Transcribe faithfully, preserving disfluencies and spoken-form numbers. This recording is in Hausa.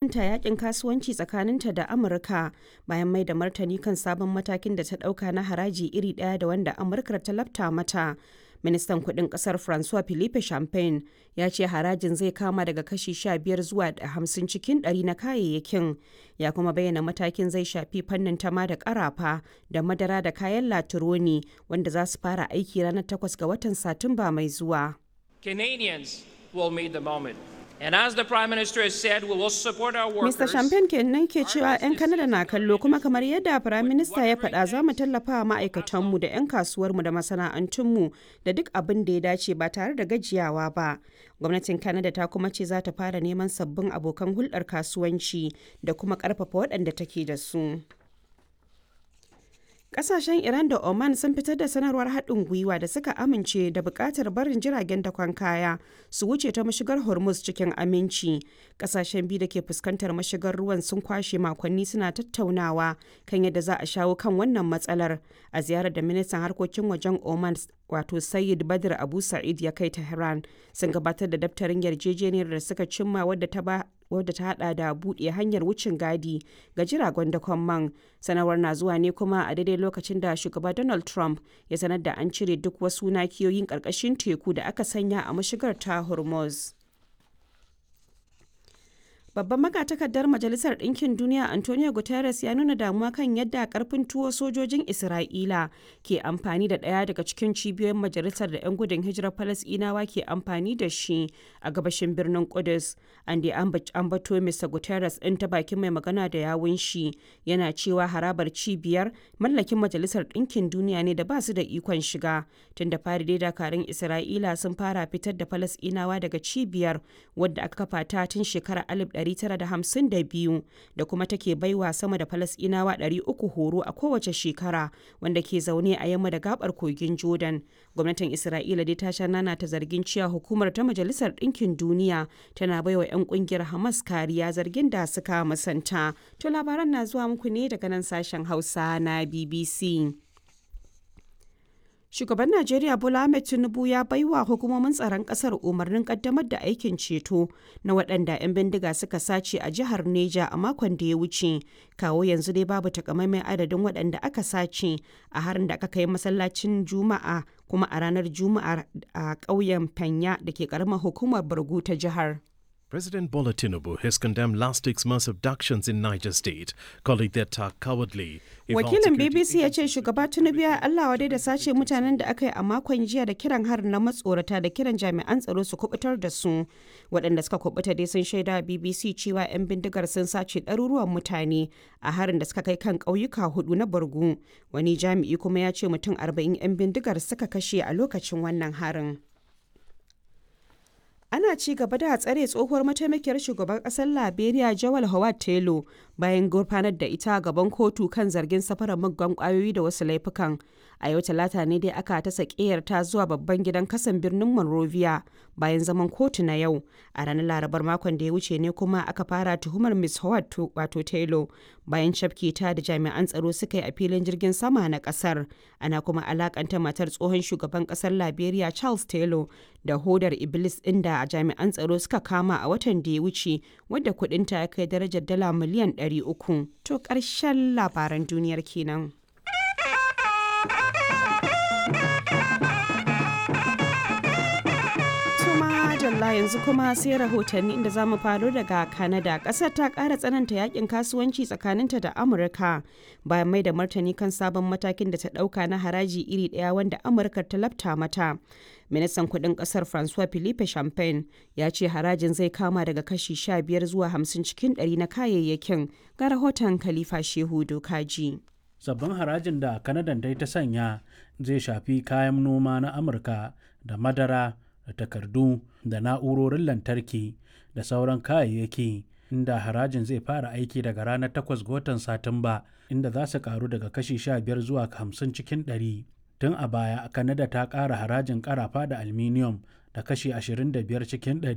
Ta yakin kasuwanci tsakaninta da Amurka bayan mai da martani kan sabon matakin da ta dauka na haraji iri daya da wanda Amurkar ta lafta mata. Ministan kudin kasar Francois Philippe Champagne ya ce harajin zai kama daga kashi sha biyar zuwa hamsin cikin ɗari na kayayyakin. Ya kuma bayyana matakin zai shafi fannin tama da karafa da madara da kayan latironi, wanda za su fara aiki ranar takwas ga watan Satumba mai zuwa. Canadians will meet the moment. And as the Prime Minister has said, we will support our workers. Mister Champagne kenan ke cewa 'yan Kanada na kallo, kuma kamar yadda Prime Minister ya faɗa, za mu tallafa wa ma'aikatanmu da 'yan kasuwarmu da masana'antunmu da duk abin da ya dace ba tare da gajiyawa ba. Gwamnatin Kanada ta kuma ce za ta fara neman sabbin abokan hulɗar kasuwanci da kuma ƙarfafa waɗanda take da su. Kasashen Iran da Oman sun fitar da sanarwar haɗin gwiwa da suka amince da buƙatar barin jiragen dakon kaya su wuce ta mashigar Hormuz cikin aminci. Kasashen biyu da ke fuskantar mashigar ruwan sun kwashe makonni suna tattaunawa kan yadda za a shawo kan wannan matsalar. A ziyarar da ministan harkokin wajen Oman, wato Sayyid Badr Abu Sa'id, ya kai Tehran, sun gabatar da daftarin yarjejeniyar da suka cimma, wadda ta ba wadda ta hada da buɗe hanyar wucin gadi ga jiragen dakon man. Sanarwar na zuwa ne kuma a daidai lokacin da shugaba Donald Trump ya sanar da an cire duk wasu nakiyoyin ƙarƙashin teku da aka sanya a mashigar ta Hormuz. Babban magatakardar Majalisar Ɗinkin Duniya Antonio Guterres ya nuna damuwa kan yadda karfin tuwo sojojin Isra'ila ke amfani da ɗaya daga cikin cibiyoyin majalisar da 'yan gudun hijirar Falasɗinawa ke amfani da shi a gabashin birnin Kudus. An da ambato Mister Guterres ɗin ta bakin mai magana da yawun shi yana cewa harabar cibiyar mallakin Majalisar Ɗinkin Duniya ne da ba su da ikon shiga. Tun da fari dai dakarun Isra'ila sun fara fitar da Falasɗinawa daga cibiyar, wadda aka kafa ta tun shekarar alif ɗari tara da hamsin da biyu, da kuma take baiwa sama da Falasɗinawa ɗari uku horo a kowace shekara wanda ke zaune a yamma da gabar kogin Jordan. Gwamnatin Isra'ila dai ta sha nana ta zargin cewa hukumar ta Majalisar Ɗinkin Duniya tana baiwa 'yan kungiyar Hamas kariya, zargin da suka musanta. To, labaran na zuwa muku ne daga nan sashen Hausa na B B C. Shugaban Najeriya Bola Ahmed Tinubu ya baiwa hukumomin tsaron kasar umarnin kaddamar da aikin ceto na waɗanda 'yan bindiga suka sace a jihar Neja a makon da ya wuce. Kawo yanzu dai babu takamaiman adadin waɗanda aka sace a harin da aka kai masallacin Juma'a kuma a ranar Juma'a a ƙauyen Fanya da ke ƙaramar hukumar Bargu ta jihar. President Bola Tinubu has condemned last week's mass abductions in Niger State, calling the attack cowardly. Wakilin B B C ya ce shugaba Tinubu ya Allah wadai da sace mutanen da aka yi a makon jiya da kiran harin na matsorata da kiran jami'an tsaro su kubutar da su. Waɗanda suka kubuta dai sun shaida B B C cewa 'yan bindigar sun sace ɗaruruwan mutane a harin da suka kai kan ƙauyuka hudu na Borgu. Wani jami'i kuma ya ce mutum arba'in 'yan bindigar suka kashe a lokacin wannan harin. Ana ci gaba da tsare tsohuwar mataimakiyar shugaban kasar Liberia Jawal Howard Taylor bayan gurfanar da ita gaban kotu kan zargin safarar muggan kwayoyi da wasu laifukan. A yau Talata ne dai aka ta sakeyar ta zuwa babban gidan kasan birnin Monrovia bayan zaman kotu na yau. A ranar Larabar makon da ya wuce ne kuma aka fara tuhumar Miss Howard, wato Taylor, bayan cafke ta da jami'an tsaro suka yi a filin jirgin sama na kasar. Ana kuma alakanta matar tsohon shugaban kasar Liberia Charles Taylor da hodar Iblis ɗin da jami'an tsaro suka kama a watan da ya wuce, wadda kudinta ya kai darajar dala miliyan ɗari uku. To, ƙarshen labaran duniyar kenan. Jalla, yanzu kuma sai rahotanni, inda za mu faro daga Canada. Kasar ta kara tsananta yakin kasuwanci tsakaninta da Amurka bayan mai da martani kan sabon matakin da ta dauka na haraji iri daya wanda Amurka ta lafta mata. Ministan kudin kasar Francois Philippe Champagne ya ce harajin zai kama daga kashi sha biyar zuwa hamsin cikin ɗari na kayayyakin. Ga rahoton Khalifa Shehu Dokaji. Sabbin harajin da Kanadan dai ta sanya zai shafi kayan noma na Amurka da madara da takardu da na'urorin lantarki da sauran kayayyaki, inda harajin zai fara aiki daga ranar takwas ga watan Satumba, inda za su karu daga kashi sha biyar zuwa hamsin cikin ɗari. Tun a baya Kanada ta ƙara harajin karafa da aluminium da kashi ashirin da biyar cikin ɗari.